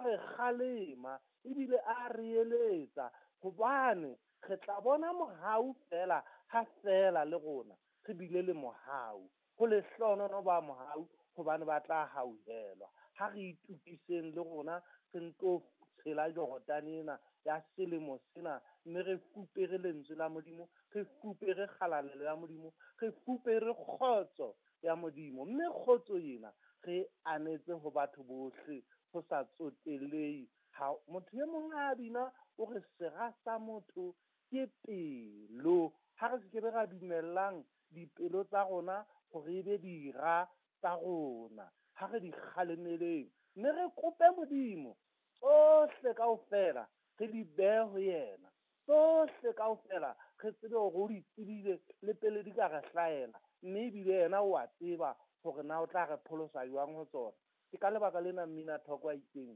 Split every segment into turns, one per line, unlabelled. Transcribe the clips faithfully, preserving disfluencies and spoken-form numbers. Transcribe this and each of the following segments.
re kgalema ebile a re eletsa, hobane re tla bona mohau fela ha fela le rona re bile le mohau. Ho lehlohonolo ba mohau, hobane ba tla hauhelwa. Ha re itukiseng le rona re nto tshela Jordane ena ya selemo sena, mme re fupere lentswe la Modimo, re fupere kgalalelo ya Modimo, re fupere kgotso ya Modimo. Mme kgotso ena re anetse ho batho bohle ho sa tsotelehe. Ha motho e mong a bina o re sera sa motho ke pelo. Ha re se ke be ra dumellang dipelo tsa rona hore e be dira tsa rona. Ha re di kgalemeleng, mme re kope Modimo tsohle kaofela re di behe ho yena. Tsohle kaofela re tsebe hore o di tsebile le pele di ka re hlahela, mme ebile yena o a tseba hore na o tla re pholosa jwang ho tsona. Ke ka lebaka lena mmina thoko a itseng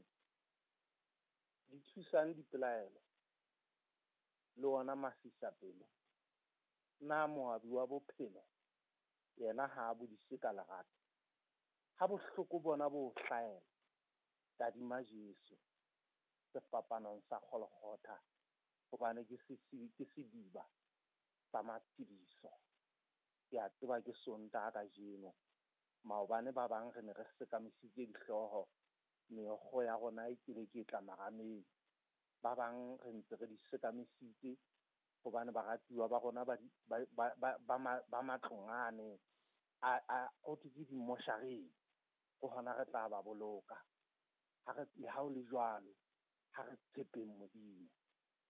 di thusang dipelaelo le ona masisapelo. Na moabi wa bophelo yena ha a bodise ka lerato? Ha bohloko bona bo hlahela, tadima Jesu sefapanong sa Golgotha, hobane ke ke sediba sa matshediso. Ke a tseba ke Sontaha kajeno. Maobane ba bang re ne re sekamisitse dihlooho, meokgo ya rona e kile ke tla marameng. Ba bang re ntse re di sekamisitse hobane baratuwa ba rona ba ba ba ba matlong ane a a ho thwe ke dimoshareng, ke hona re tla ba boloka. Ha re le ha ho le jwalo, ha re tshepeng Modimo,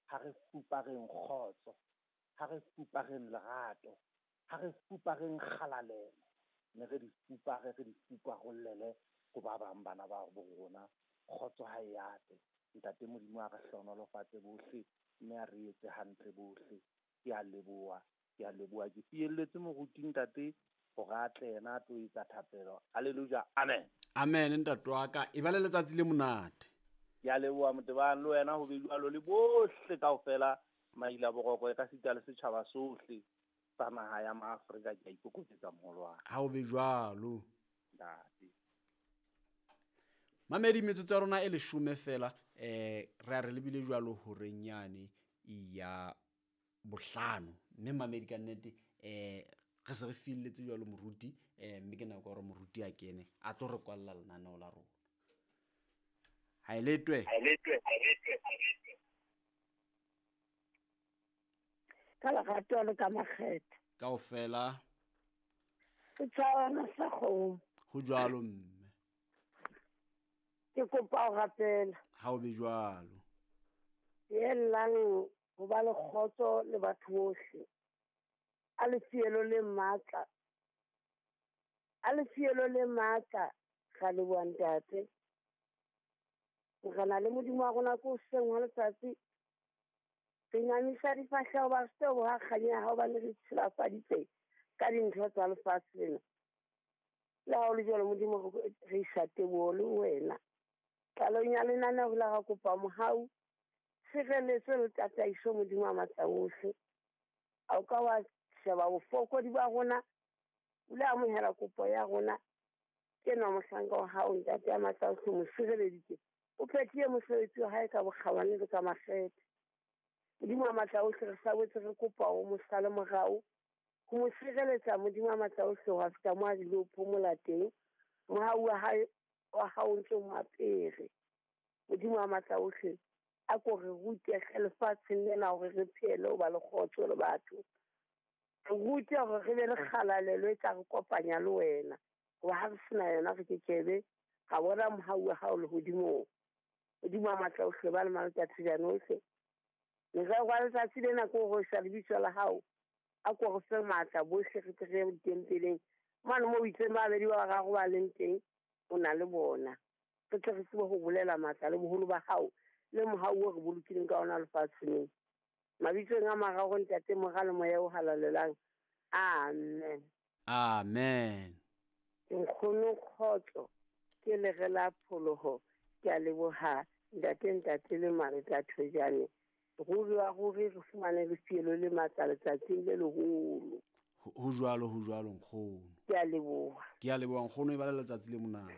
ha re fupareng kgotso, ha re fupareng lerato, ha re fupareng kgalalelo, mme re di fupare, re di fuparollele ho ba bang bana ba bo rona. Kgotso ha e ate. Ntate Modimo a re hlohonolofatse bohle, mme a re etse hantle bohle. Ke a leboha, ke a leboha. Ke fielletse moruti ntate hore a tle yena a tlo etsa thapelo. Hallelujah, amen.
Amen, ntate wa ka. E ba le letsatsi le monate.
Ke a leboha Motebang, le wena ho be jwalo le bohle kaofela maila boroko e ka sita le setjhaba sohle sa naha ya Maafrika. Ke a ikokobetsa moholo wa ka.
Ha ho be jwalo.
Ntate.
Mamedi, metsotso ya rona e leshome fela, eh re a re lebile jwalo horeng yane ya bohlano. Mme mamedi ka nnete eh re se re filletse jwalo moruti, eh mme ke nako ya hore moruti a kene a tlo re kwalla lenaneo la rona. Ha e letwe.
Ka lerato le ka makgetho.
Kaofela.
Setjhabana sa kgomo.
Ho jwalo mme.
Ke kopa ho rapela.
Ha o be jwalo.
Yellang ho ba le kgotso le batho bohle. A le fielo le matla. A le fielo le matla ga le bua ntate. Re na le Modimo wa rona ko hoseng hwa letsatsi. Re inamisa difahleho ba se ho ha kganya ya hao hobane re tshilafaditse ka dintho tsa lefatshe lena. Le ha ho le jwalo Modimo re isa teboho le wena. Qalong ya lenaneo la ra kopa mohau, tshireletso le tataiso Modimo wa matla ohle. A o ka wa sheba bofokodi ba rona, o le amohela kopo ya rona. Ke nwa mohlanka wa hao ntate ya matla ohle, mo sireleditse. O phethile mosebetsi wa hae ka bokgabane le ka makgethe. Modimo wa matla ohle re sa boetse re kopa o mo sale morao, ho mo sireletsa Modimo wa matla ohle ho fihla mo a dilo phomola teng. Mohau wa hae wa hao ntse o mo apere. Modimo wa matla ohle a ko re rute lefatsheng lena hore re phele ho ba le kgotso le batho. Re rute hore re be le kgalalelo e tla re kopanya le wena. Hoba ha re sena yona re kekebe ra bona mohau wa hao lehodimong. Modimo wa matla ohle ba le matsatsi jana ohle. Morero wa letsatsi lena ke hore sa lebitso la hao a ko re fe matla bohle re tle re ye ditempeleng. Mane moo o itseng ba babedi ba bararo ba leng teng o na le bona. Re tle re tsebe ho bolela matla le boholo ba hao le mohau o re bolokileng ka ona lefatsheng. Mabitsong a mararo Ntate, Mora le Moya o Halalelang. Amen.
Amen.
Nkgono kgotso ke lere la pholoho. Ke a leboha ntate, ntate le Mareta Thojane. Ruri wa ruri re fumane lefielo le matla letsatsing le leholo.
Ho jwalo, ho jwalo nkgono.
Ke a leboha.
Ke a leboha nkgono, e ba le letsatsi le monate.